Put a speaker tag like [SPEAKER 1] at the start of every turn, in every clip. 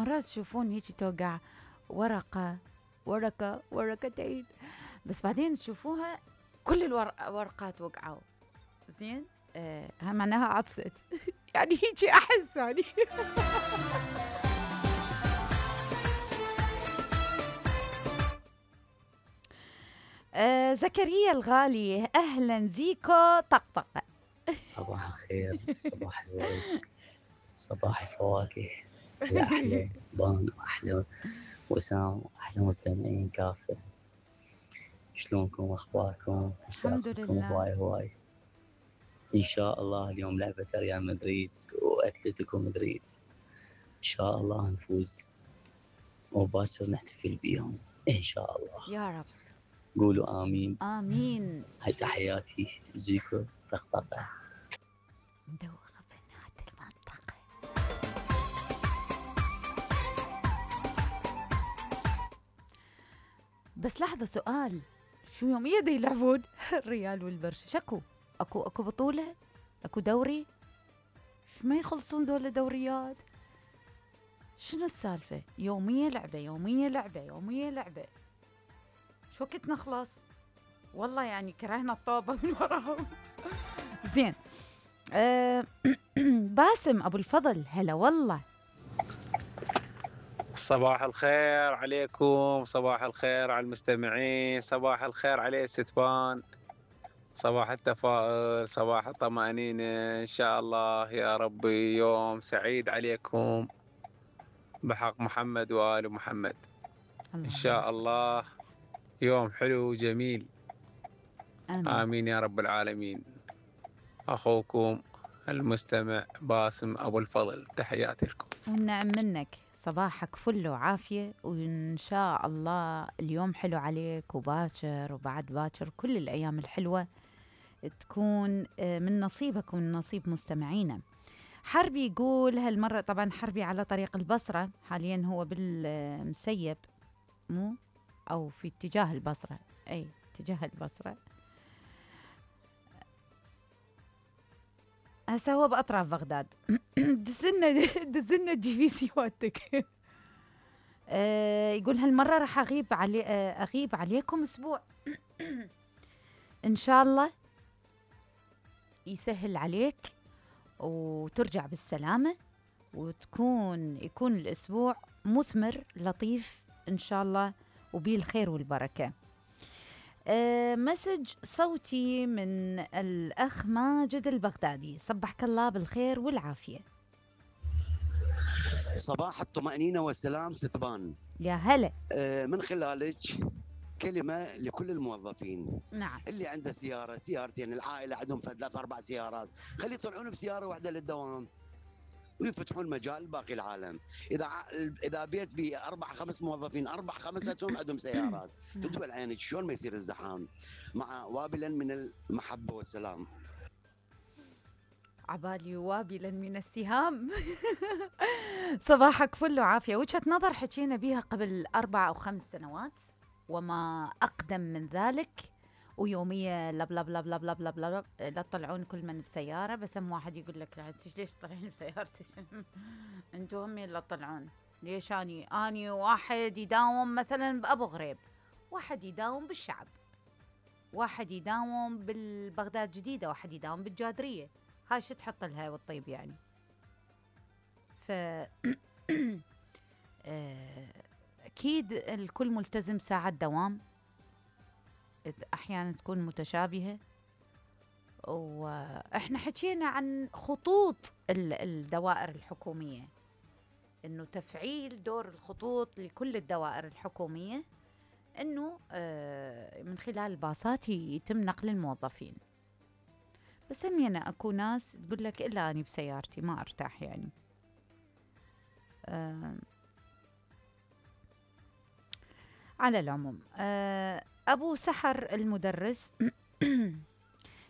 [SPEAKER 1] مرات تشوفون هيك توقع ورقة ورقتين، بس بعدين تشوفوها كل الورقات وقعوا. زين ها معناها عطست. يعني هيك أحس يعني. زكريا الغالي، أهلا زيكو طقطقة.
[SPEAKER 2] صباح الخير، صباح الورد، صباح الفواكه، يا أحلى بان وأحلى وسام وأحلى مستمعين كافة. شلونكم وأخباركم؟
[SPEAKER 1] الحمد
[SPEAKER 2] مشتاقكم
[SPEAKER 1] لله.
[SPEAKER 2] هواي. إن شاء الله اليوم لعبة ريال مدريد وأتلتيكو مدريد، إن شاء الله نفوز وباكر نحتفل بيهم إن شاء الله
[SPEAKER 1] يا رب.
[SPEAKER 2] قولوا آمين.
[SPEAKER 1] آمين.
[SPEAKER 2] هاي تحياتي زيكو طقطقة.
[SPEAKER 1] مدوخة بنات المنطقة. بس لحظة، سؤال، شو يوميا دا يلعبون الريال والبرشا؟ شكو اكو بطولة، اكو دوري، شو ما يخلصون ذول دوريات؟ شنو السالفة؟ يوميا لعبة، شو وقت نخلص؟ والله يعني كرهنا الطوبة من وراهم. زين. باسم ابو الفضل، هلا والله.
[SPEAKER 3] صباح الخير عليكم، صباح الخير على المستمعين، صباح الخير علي ستبان، صباح التفاؤل، صباح الطمأنينة، إن شاء الله يا ربي يوم سعيد عليكم بحق محمد وآل محمد. إن شاء الله يوم حلو وجميل. آمين يا رب العالمين. أخوكم المستمع باسم أبو الفضل، تحياتي لكم.
[SPEAKER 1] والنعم منك، صباحك فل وعافية، وإن شاء الله اليوم حلو عليك وباكر وبعد باكر، كل الأيام الحلوة تكون من نصيبك ومن نصيب مستمعينا. حربي يقول هالمرة، طبعا حربي على طريق البصرة حاليا، هو بالمسيب مو أو في اتجاه البصرة، أي اتجاه البصرة، هسا هو بأطراف بغداد. دزنا جي في سيواتك. يقول هالمرة راح أغيب عليكم أسبوع. إن شاء الله يسهل عليك وترجع بالسلامة، يكون الأسبوع مثمر لطيف إن شاء الله، وبيه الخير والبركة. مسج صوتي من الأخ ماجد البغدادي، صبحك الله بالخير والعافية.
[SPEAKER 4] صباح الطمأنينة والسلام ستبان.
[SPEAKER 1] يا هلا.
[SPEAKER 4] من خلالك كلمة لكل الموظفين.
[SPEAKER 1] نعم.
[SPEAKER 4] اللي عنده سيارة سيارتين، العائلة عندهم 3-4 سيارات، خلي يطلعون بسيارة واحدة للدوام ويفتحون مجال باقي العالم. اذا بيت بي 4-5 موظفين، 4-5 عندهم سيارات في دول عينك، شلون ما يصير الزحام؟ مع وابلا من المحبه والسلام.
[SPEAKER 1] عبالي وابلا من السهام. صباحك فل وعافية. وجهة نظر حكينا بيها قبل 4 أو 5 سنوات وما أقدم من ذلك، ويومية لب لب لب لب لب لب لب لا تطلعون كل من بسيارة. بس واحد يقول لك لا انت ليش تطلعين بسيارتك؟ انتوا هم اللي تطلعون. ليش اني واحد يداوم مثلا بأبو غريب، واحد يداوم بالشعب، واحد يداوم بالبغداد جديدة، واحد يداوم بالجادرية. هاي شو تحط لها والطيب يعني؟ ف أكيد الكل ملتزم ساعة دوام، أحيانا تكون متشابهة. وإحنا حكينا عن خطوط الدوائر الحكومية، إنه تفعيل دور الخطوط لكل الدوائر الحكومية، إنه من خلال الباصات يتم نقل الموظفين. بس همينا أكو ناس تقول لك إلا أني بسيارتي ما أرتاح يعني. على العموم أبو سحر المدرس.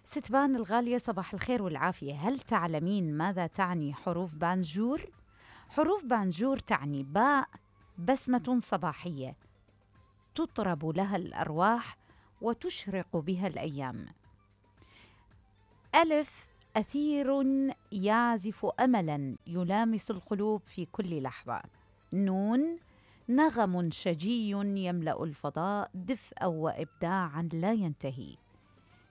[SPEAKER 1] ستبان الغالية، صباح الخير والعافية. هل تعلمين ماذا تعني حروف بانجور؟ حروف بانجور تعني باء بسمة صباحية تطرب لها الأرواح وتشرق بها الأيام. ألف أثير يعزف أملا يلامس القلوب في كل لحظة. نون نغم شجي يملأ الفضاء دفئا وإبداعا لا ينتهي.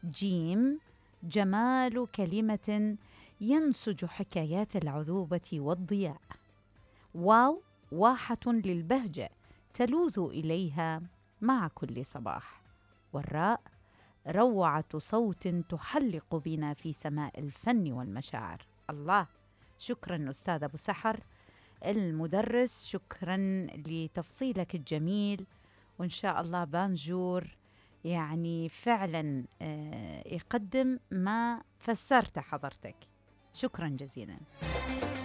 [SPEAKER 1] جيم جمال كلمة ينسج حكايات العذوبة والضياء. واو واحة للبهجة تلوذ إليها مع كل صباح. والراء روعة صوت تحلق بنا في سماء الفن والمشاعر. الله، شكرا أستاذ أبو سحر المدرس، شكرا لتفصيلك الجميل. وإن شاء الله بانجور يعني فعلا يقدم ما فسرت حضرتك. شكرا جزيلا.